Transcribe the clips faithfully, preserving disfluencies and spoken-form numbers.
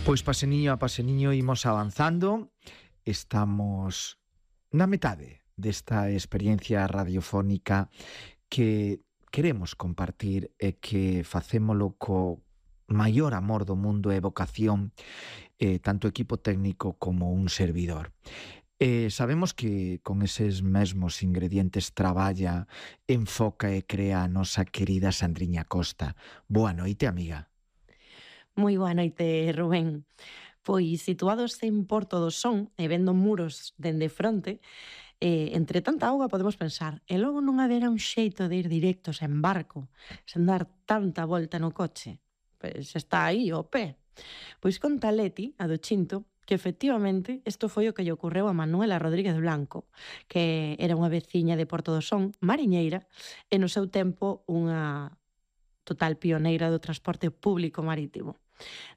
Pois paseniño a paseniño imos avanzando. Estamos na metade desta experiencia radiofónica que queremos compartir e que facémolo co maior amor do mundo e vocación, eh, tanto equipo técnico como un servidor. Eh, sabemos que con eses mesmos ingredientes traballa, enfoca e crea a nosa querida Sandriña Costa. Boa noite, amiga. Moi boa noite, Rubén. Pois situados en Porto do Son e vendo muros dende fronte, eh, entre tanta auga podemos pensar, e logo non haberá un xeito de ir directos en barco, sen dar tanta volta no coche? Pois está aí o pé. Pois conta Leti, a do Chinto, que efectivamente isto foi o que lle ocorreu a Manuela Rodríguez Blanco, que era unha veciña de Porto do Son, mariñeira, e no seu tempo unha total pioneira do transporte público marítimo.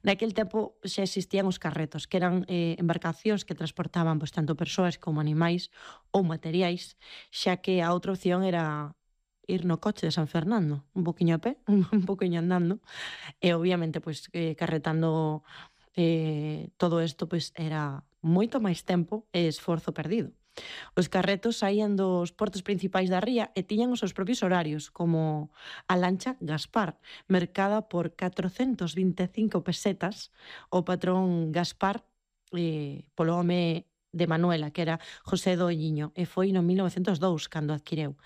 Naquel tempo xa existían os carretos, que eran eh, embarcacións que transportaban pois, tanto persoas como animais ou materiais, xa que a outra opción era ir no coche de San Fernando, un poquinho a pé, un poquinho andando, e obviamente pois eh, carretando eh, todo isto pois era moito máis tempo e esforzo perdido. Os carretos saían dos portos principais da ría e tiñan os seus propios horarios, como a lancha Gaspar, mercada por catrocentos vinte e cinco pesetas, o patrón Gaspar, eh, polo home de Manuela, que era José Doñiño, e foi no mil novecentos e dous cando adquireu.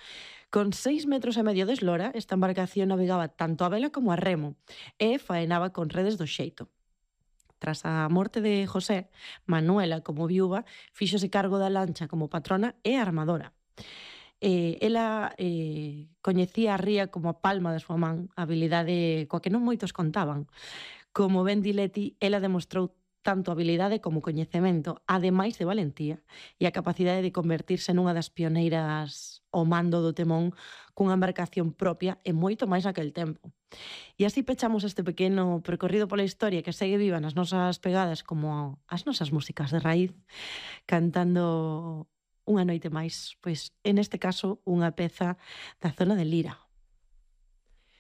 Con seis metros e medio de eslora, esta embarcación navegaba tanto a vela como a remo e faenaba con redes do xeito. Tras a morte de José, Manuela, como viúva, fíxose cargo da lancha como patrona e armadora. Eh, ela eh, coñecía a ría como a palma da súa man, habilidade coa que non moitos contaban. Como ben di Leti, ela demostrou tanto habilidade como coñecemento, ademais de valentía, e a capacidade de convertirse nunha das pioneiras ao mando do temón cunha embarcación propia e moito máis naquel tempo. E así pechamos este pequeno percorrido pola historia que segue viva nas nosas pegadas como as nosas músicas de raíz, cantando unha noite máis, pois en este caso unha peza da zona de Lira.